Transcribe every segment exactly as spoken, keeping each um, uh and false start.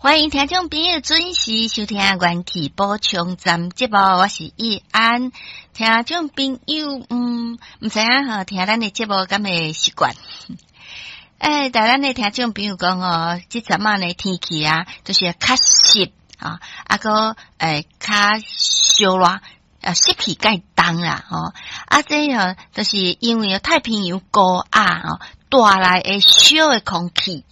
歡迎聽眾朋友準時收聽《元氣補充站》節目，我是易安。聽眾朋友，嗯，毋知影吼，聽咱的節目敢會習慣？欸，但咱的聽眾朋友講哦，這陣仔呢天氣啊，就是較濕啊，啊閣欸較燒熱，啊濕氣較重啦，吼啊這吼，就是因為太平洋高壓吼帶來的燒的空氣。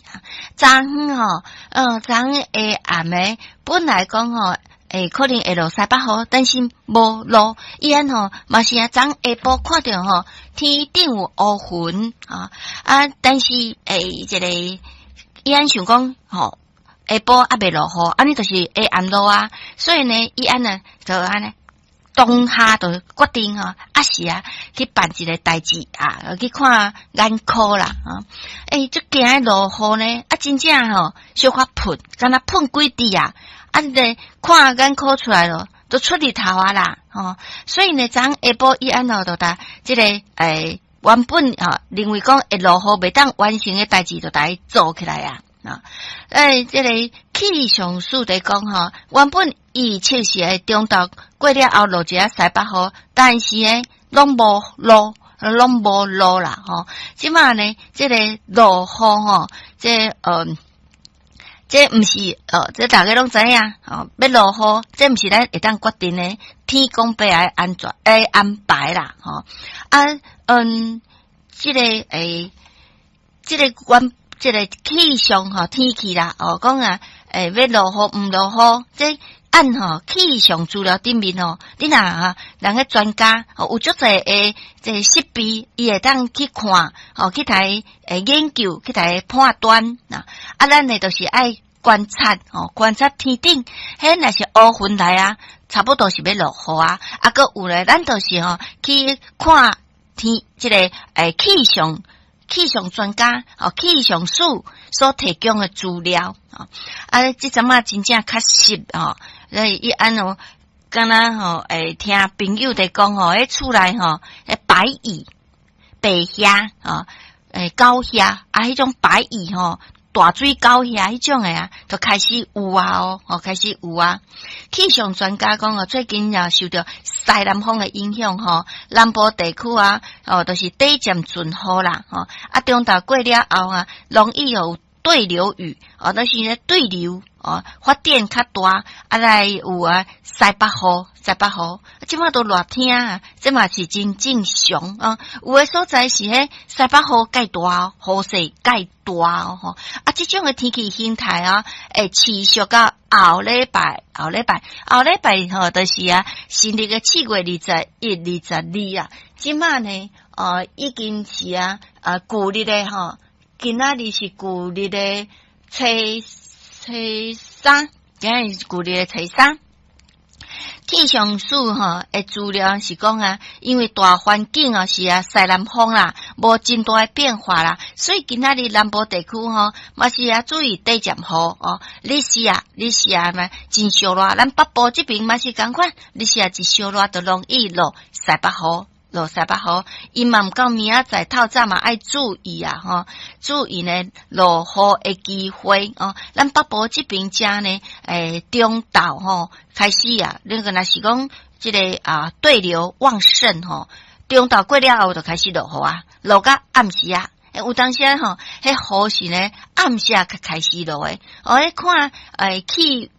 昨昏吼，嗯，昨昏下暗暝本來講吼，會可能會落西北雨，但是無落。伊按吼嘛是啊，昨下晡看著吼，天頂有烏雲啊，啊，但是欸，這個伊按想講吼，下晡猶未落雨，按呢就是下暗落啊，所以呢，伊按呢就按呢。當下就決定吼，抑是啊去辦一個代誌啊，去看眼科啦啊！欸，足驚落雨呢，啊，真正吼小可噴，敢若噴幾滴啊！啊，呢看眼科出來咯，都出日頭啊啦！吼，所以呢，昨下晡伊按吼就共這個欸原本吼認為講會落雨袂當完成的代誌，就共伊做起來啊！啊，欸，這個氣象署佇講吼，原本預測是會中晝過了後落一下西北雨，但是呢，攏無落，攏無落啦吼。這馬呢，這個落雨吼，這呃，這毋是哦，這大家攏知影吼，欲落雨，這毋是咱會當決定的，天公伯來安怎來安排啦吼。啊，嗯，這個欸，這個阮。這個氣象吼，天氣啦，哦，講啊，欸，欲落雨毋落雨，這按吼氣象資料頂面吼，你若哈，人個專家吼有足濟的這個設備，伊會當去看，吼去台欸研究，去台判斷啊。啊，咱呢就是愛觀察，吼，觀察天頂，彼若是烏雲來啊，差不多是欲落雨啊。啊，閣有咧，咱就是吼去看天，這個欸氣象。氣象專家哦，氣象署所提供的資料啊，啊，這陣仔真正較濕吼，所以伊按哦，敢若吼，會聽朋友佇講吼，彼厝內吼，彼白蟻、白蟻啊，欸，狗蟻啊，彼種白蟻吼，大水狗蟻彼種的啊，就開始有啊哦，哦，開始有啊。氣象專家講哦，最近也受著西南風的影響吼，南部地區啊，哦，就是短暫陣雨啦，吼，啊，中晝過了後啊，容易有對流雨，哦，就是咧對流哦，發展較大，啊來有啊西北雨，西北雨，這馬都熱天啊，這嘛是真正常啊。有的所在是彼西北雨蓋大，雨勢蓋大哦，吼，啊，這種的天氣形態啊，會持續到後禮拜，後禮拜，後禮拜吼，就是啊，新曆的四月二十一、二十二啊，這馬呢，哦，已經是啊，啊，舊曆的吼。今仔日是舊曆的初初三，今仔日是舊曆的初三。氣象署吼的資料是講啊，因為大環境啊是啊西南風啦，無真大的變化啦，所以今仔日南部地區吼嘛是啊注意短暫雨哦。日時啊，日時啊嘛真燒熱，咱北部這邊嘛是仝款，日時啊一燒熱就容易落西北雨。落西北雨，伊嘛毋到明仔載透早嘛愛注意啊，吼，注意呢落雨的機會哦。咱北部這邊遮呢，欸，中晝吼開始啊，那個若是講這個啊對流旺盛吼，中晝過了後就開始落雨啊，落到暗時啊，有當時吼，彼雨是呢暗時啊才開始落的，哦，彼看欸氣。